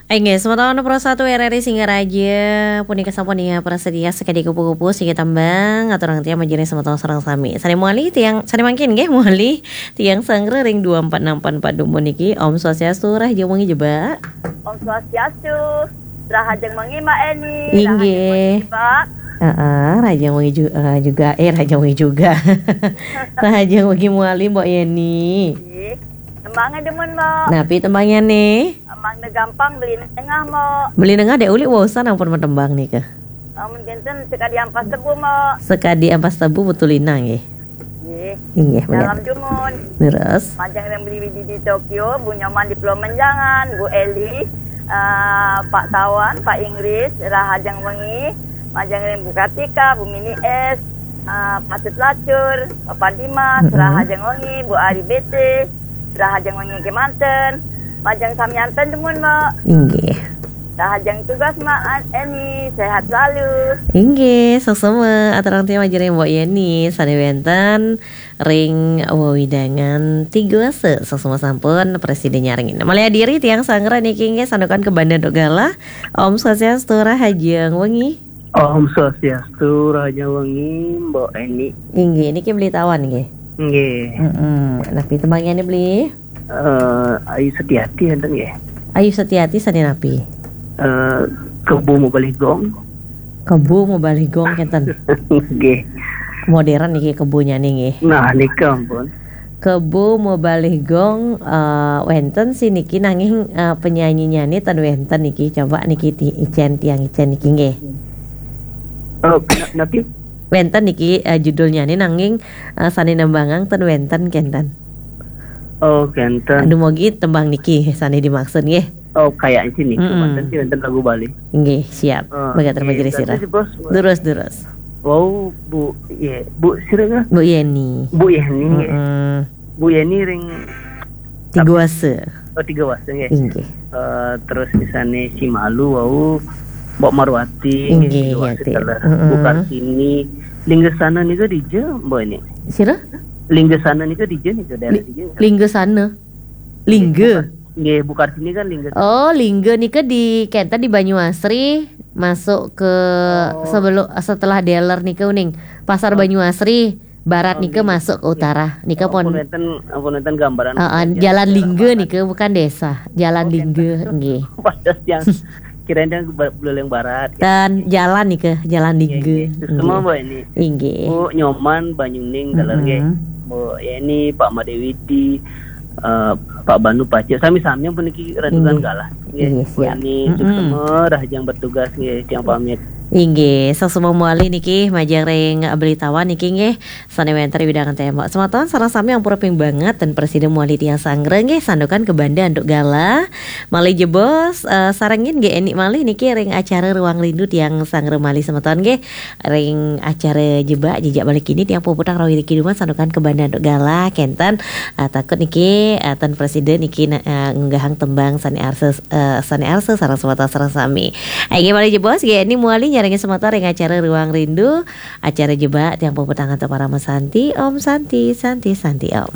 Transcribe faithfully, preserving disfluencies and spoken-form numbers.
Inggih, semeton Pro satu R R I Singaraja, punika sampun ya prasetya sekadi kupu-kupu siki tembang, aturang tiang majeng ring semeton sareng sami. Sane mawali tiang, sane mangkin nggih mawali tiang sanggra ring dua empat enam empat empat dumun niki. Om Swastiastu, rahajeng wengi Jebak. Om Swastiastu, rahajeng wengi Mbak Eni, rahajeng wengi Jebak. Heeh, rahajeng wengi ju-, eh, juga, eh, rahajeng wengi juga. Rahajeng wengi mawali Mbok Yeni. Nggih. Tembange demen, Mbok. Napi tembange nih? Tembangne gampang, Beli Nengah, Mbok. Beli Nengah dek uli waosan ampun matembang nika. Lamun kinten sekadi ampas tebu, Mbok. Sekadi ampas tebu betul inang nggih. Nggih. Inggih, bener. Salam dumun. Leres. Majeng ring Beli Widi di Tokyo, Bu Nyoman di Pulau Menjangan, Bu Eli, eh, Pak Tawan, Pak Inggris, rahajeng wengi, majeng ring Bu Kartika, Bu Mini S, eh, Patut Lacur, Bapak Dimas, mm-mm, rahajeng wengi, Bu Ari B T, rahajeng wengi kemanten, majeng samian ten dumun, Mbok. Inggih. Rahajeng tugas, Mbok Eni, sehat selalu. Inggih, suksma. Aturang tiang majeng ring Mbok Yeni, sane wenten ring wewidangan Tigawasa, suksma sampun prasida nyarengin. Malih adiri tiang sanggra niki nggih santukan kabanda antuk galah. Om Swastiastu, rahajeng wengi. Om Swastiastu, rahajeng wengi, Mbok Eni. Inggih, niki Beli Tawan nggih. Nggih. Mm-mm. Napi tembange Beli? Eh, Ayu Setiati enten nggih. Ayu Setiati sane napi? Eh, Kebo Mabalih Gong. Kebo Mabalih Gong kenten. Nggih. Modern niki kebonyane nggih. Nah, nika ampun. Kebo Mabalih Gong, eh, wenten sih niki nanging, eh, penyanyinyane ten wenten niki. Coba niki ti-, icen tiang icen niki nggih. Oh, na-, napi? Wenten niki, eh, judulnyane nanging, eh, sane nembangang ten wenten kenten. Oh, kenten. Dumogi tembang niki sane dimaksud nggih. Oh, kayaknya sih nih, mm-mm, wenten sih, wenten lagu Bali. Nggih, siap. Oh, mangga, nggih, terima kasih, terima kasih, Bos. Durus, durus. Wow, Bu, ye, Bu sira kah? Bu Yeni. Bu Yeni, nggih. Mm-mm. Bu Yeni ring Tigawasa. Oh, Tigawasa, nggih. Inggih. Eh, terus misalnya si Malu, wau, Mbok Marwati, nggih, Tigawasa, Yati. Telah. Mm-mm. Bu Kartini, Linggasana nika dija, Mbok ini? Sira? Linggasana nika dija nika, daerah Li-, dija nika? Linggasana. Lingga. Nggih, Bu Kar-, nggih, Bu Kartini kan Lingga. Oh, Lingga nika di kenten di Banyuasri, masuk ke, oh, sebelum, setelah dealer nika uning. Pasar, oh, Banyuasri, barat, oh, nika, nggih, masuk ke, nggih, utara. Nika, ampun, pun wenten, ampun wenten gambaran. Heeh, aja. Jalan Lingga, barat, nika bukan desa. Jalan, oh, Lingga, kenten. Nggih. Pada yang kirain yang ba-, Buleleng Barat, gitu. Dan jalan nika, Jalan, nggih, Lingga. Nggih. Semua, nggih, Mbok ini. Inggih. Bu Nyoman, Banyuning, galer, nggih. Mm-mm. Bu Yeni, Pak Madewidi, eh, Pak Banu, Pak Cik, sami-sami yang puniki renungan, inggih, galah. Nggih, inggih, Bu, siap. Ini, mm-mm, suksma, rahajeng bertugas, nggih, tiang pamit. Inggih, suksma mawali niki majeng ring Beli Tawan niki nggih, sane wenten ring wewidangan tembok. Semeton sareng sami ampura ping banget ten prasida mawali tiang sanggra nggih, santukan kabanda antuk galah. Malih jebos, eh, sarengin nggih Eni malih niki ring acara Ruang Rindu tiang sanggra malih semeton nggih. Ring acara Jebak Jejak Bali Kini tiang puputang rawi niki dumun santukan kabanda antuk galah kenten, eh, takut niki, eh, ten prasida niki na-, eh, ngunggahang tembang sane arsa, eh, sane arsa sareng semeton sareng sami. Inggih malih jebos nggih Eni mawali nyarengin semeton ring acara Ruang Rindu, acara Jebak tiang puputang antuk Parama Santi. Om Santi, Santi, Santi Om.